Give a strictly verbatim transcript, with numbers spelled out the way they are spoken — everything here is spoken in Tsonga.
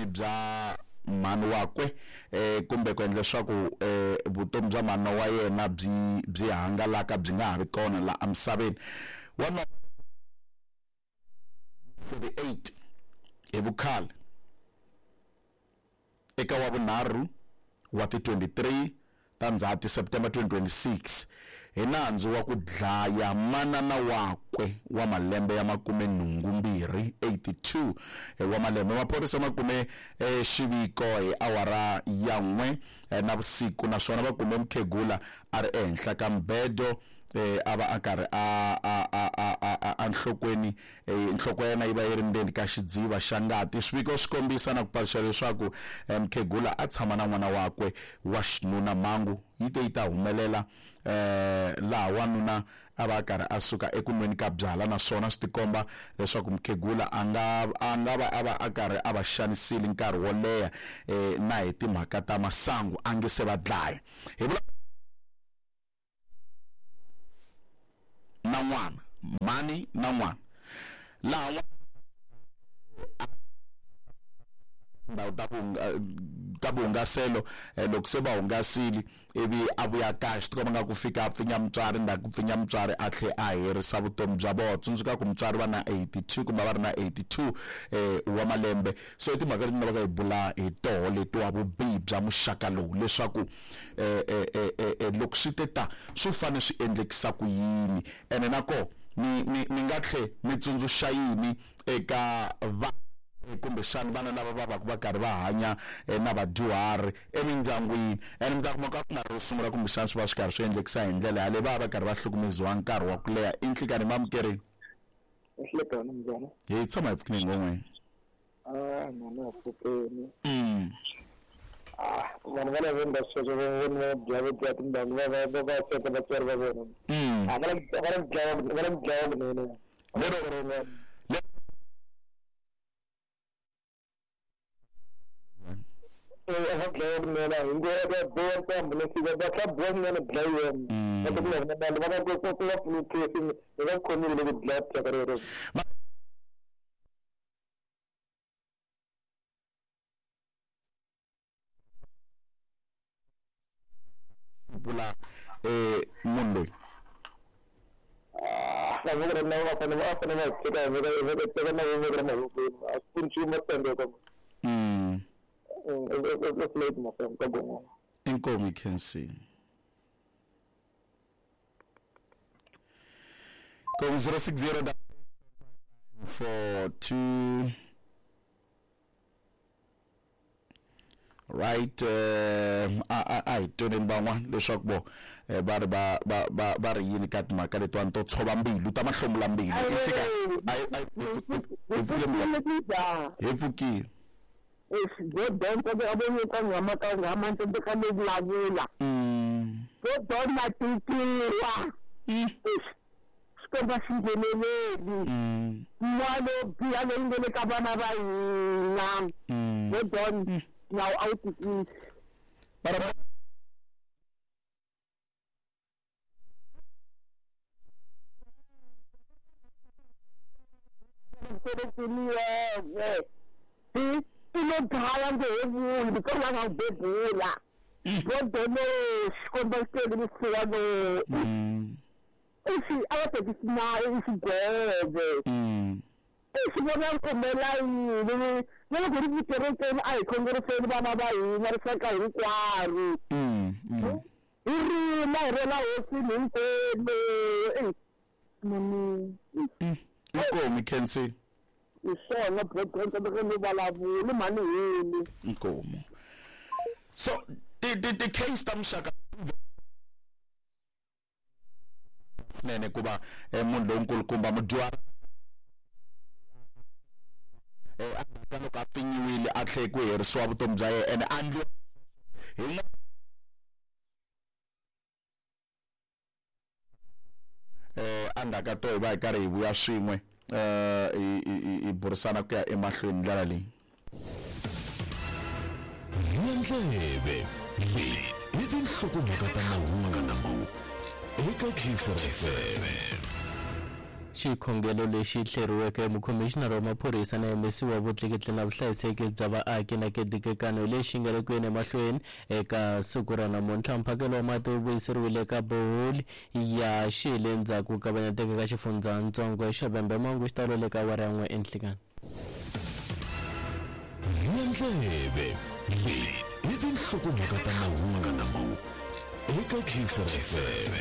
vutomi bya mhani wakwe eh kumbe ku endla leswaku eh vutomi bya mhani wa yena byi byi hangalaka byi nga ha vi kona la emisaveni. Wa forty-eight hi vukhale eka wa vunharhu wa ti twenty-three ta Ndzhati September twenty twenty-six hi nandzu wa ku dlaya manana wakwe wa malembe ya makume nhungu mbirhi eighty-two wa malembe. Maphorisa ma kume xiviko hi awara ya n'we na vusiku, naswona va kume mukhegula a ri ehenhla ka mbedo eh a va a karhi a a a a a nhlokweni nhloko ya yena yi va yi ri ndzeni ka xidziva xa ngati. Swiviko swi kombisa na ku paluxa leswaku mukhegula a tshama na n'wana wakwe wa xinuna. Mhangu yi te yi ta humelela eh laha wanuna a va a karhi a suka eku nweni ka byala, naswona swi tikomba leswaku mukhegula a nga a nga va a va a karhi a va xanisile nkarhi wo leha eh na hi timhaka ta masangu a nge se va dlaya. Hi vula na n'wana mhani na n'wana laha ndhawu ta ta vuhungaselo loko se va hungasile ivi a vuya kaya swi tikomba nga ku fika a pfinya mutswari ndzhaku ku pfinya mutswari a tlhe a herisa vutomi bya vona. Tsundzuka ku mutswari va na eighty-two kumbe va ri na eighty-two eh wa malembe. So i timhaka leti nga va ka hi bula hi toho letiwa vubihi bya muxaka lowu leswaku eh eh eh loko swi te ta swi fanele swi endlekisa ku yini, ene nako ni ni ni nga tlhe mi tsundzuxa yini eka va kumbexana vana lava va va va karhi va hanya na vadyuhari emindyangwini. Ene mi ta kuma ka ku nga ri ro sungula kumbexana swi va swi karhi swi endlekisa hi ndlela yaleyo, va va va karhi va hlukumeziwa nkarhi wa ku leha. I nhlikani mamukerini? Nhlikani njhani? Hi tshama hi pfukile ngopfu. Ah, mama ya pfukeni. Mm. Ah, vanhu va lava va sweswo va vona bya bya tindhawu va va va va sweka vatswari va vona. Mm. A va la va la dlaya va la dlaya kunene. Lero a dlaya kunene hi ngo va boha ntambu leswi va tlha boha kunene dlayiwa. Va ta ku na vanhu va va ku ku va pfuni case ni va khomile loko dlaya thyaka rero. Bula eh munhu loyi ah va vona na va fanele va fanele va teka va va teka na va va mavokweni a swi pfuni nchumu va tsandzeka. Mm. Inkomu you can see. Kom zero six zero four two. Right, uh, a a hi tweni van'wana leswaku vo va ri va va va va ri yini ka timhaka letiwani to tshova mbilu ta mahlomula mbilu. I fika hi pfukile hi pfukile. Godonto abonye ngamaka ngamanto ka vulavula. Mm. Godona tikiwa. Xikomba xi ngheneleli. Mm. N'wana wo biha leyi nga le ka vana va hina. Mm. Godon nawu a wu tikisi. Bara I lo dlaya nge he vuli because va nga n'wi bebula. Godolo xikomba xitele misiwa lo. I a va tekisi nawu i xigwevo. I xi vona kumela yini na loko ri tikerekeni a hi khongeriseni vana va hina rixaka hinkwaro. Hi rima hi rela hosini hinkwenu. Mani. Inkomu can see. Hi swona Godonto loko ni vulavula mhani heli. Inkomu. So ti ti ti case ta muxaka nene ku va munhu lonkulukumba mudyuhari eh a loko a pfinyiwile a tlhe ku herisiwa vutomi bya yena ene a ndliwa hi eh a ndzhaku ka to hi va hi karhi hi vuya swin'we eh hi burisana ku ya emahlweni ndlela leyi. Ndleve leyi i tinhlokomhaka ta mahungu eka Gcis F M. Xikhongelo lexi hleriweke mukhomixinara wa maphorisa na M C wa vutleketli na vuhlayiseki bya vaaki na kedikekano lexi nga le ku yeni emahlweni eka siku ra namuntlha. Mphakelo wa mati wu vuyiseriwile eka boholi ya xile ndzhaku ka kavanyeteka ka xifundzatsongo xa Vhembe. Mangu xitalo le ka awara ya n'we enhlikani. Rhiya ndleve, leti i tinhlokomhaka ta mahungu eka Gcis F M.